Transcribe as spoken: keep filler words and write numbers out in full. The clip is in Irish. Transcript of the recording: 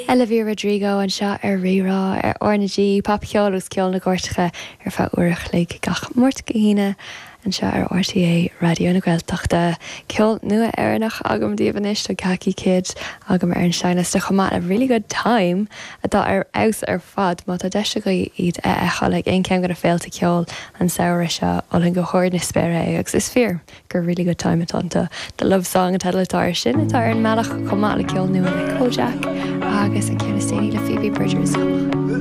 Olivia Rodrigo anseo ar Rí-Rá ar R na G popcheol agus ceol na gcairteacha ar feadh uair a chloig gach Máirt go hAoine anseo ar R T É Raidió na Gaeltachta. Ceol nua Éireannach agam daoibh anois. Tá Khaki Kid agam ar an seinnliosta chomh maith le Really Good Time atá ar fheabhas ar fad. Má tá deis agaibh iad a fheiceáil ag aon cheann de na féilte ceoil an samhradh seo, mholfainn go hard na spéire é, agus is fíor gur really good time atá. The Love Song an teideal atá air sin, atá ar an mbealach, chomh maith le ceol nua le Kojaque agus an ceann is déanaí le Phoebe Bridgers.